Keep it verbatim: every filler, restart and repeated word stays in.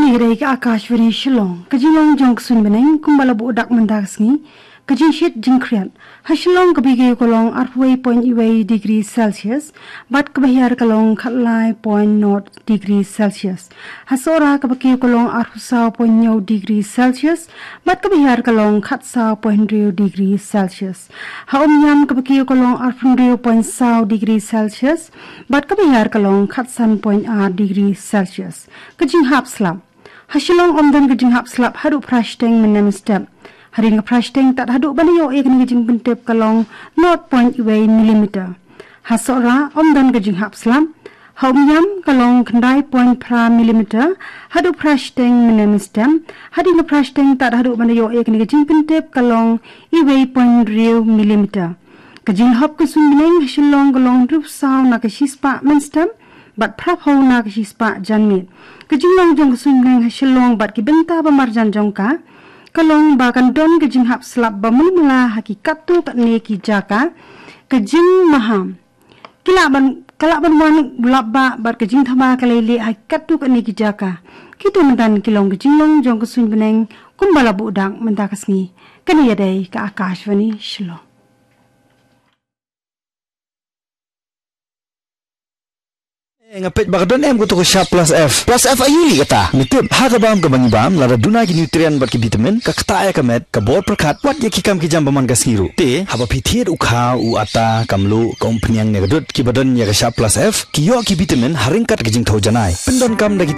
Ïa dei ka Akashvani Shillong. Ka jinglong jong ka suiñ bneng kumba la buh dak mynta ka sngi. Ka jingshit jingkhriat ha Shillong ka bikiew ka long arphew wei point wei degree Celsius bad ka bahiar ka long khatlai point nought degree Celsius. Ha Sohra ka bikiew ka long arphew saw point hynñiew degree Celsius bad ka bahiar ka long khatsaw point hynriew degree Celsius. Ha Umiam ka bikiew ka long arphew hynriew point saw degree Celsius bad ka bahiar ka long khatsan point ar degree Celsius. Ka jinghap slap ha Shillong ym don ka jinghap slap haduh phra shiteng mynne mynstep. Hadien ka phra shiteng tad haduh ban ïoh ïa kane ka jingpyntip ka long nought point wei millimeter. Ha Sohra ym don ka jinghap slap. Ha Umiam ka long khyndai point phra millimeter haduh phra shiteng mynne mynstep. Hadien ka phra shiteng tad haduh ban ïoh ïa kane ka jingpyntip ka long wei point hynriew millimeter. Ka jinglhop ka suiñ bneng ha Shillong ka long hynriew saw na ka shispah mynstep bad phra phew na ka shispah janmiet. Ka jinglong jong ka suiñ bneng ha Shillong bad ki bynta ba marjan jong ka ka long ba kan don ka jinghap slap ba mlumla ha ki katto katne ki jaka. Ka jingmaham ki lah ban, ka lah ban wan u lap bah bad ka jingthma ka lei lieh ha ki katto katne ki jaka. Kito mynta ki long ka jinglong jong ka suiñ bneng kumba la buh dak mynta ka sngi. Kane ïa dei ka Akashvani Shillong. Eh, nga peit ba ka don em kato ka Sharp Plus F. Plus F aïu lei kata? Nga tip, ha ka bam kaba ngi bam, lada duna ki nutrient bad ki vitamin, ka ktah ïa ka met, ka bor pyrkhat, wat ïa ki kam ki jam ba man ka sngi ruh. Te haba phi thied u kha, u atta, ka mluh, ka umphniang ne ka dud, kiba don ïa ka Sharp Plus F, ki ïoh ki vitamin ha ryngkat ka jingthew janai. Pyndonkam da ki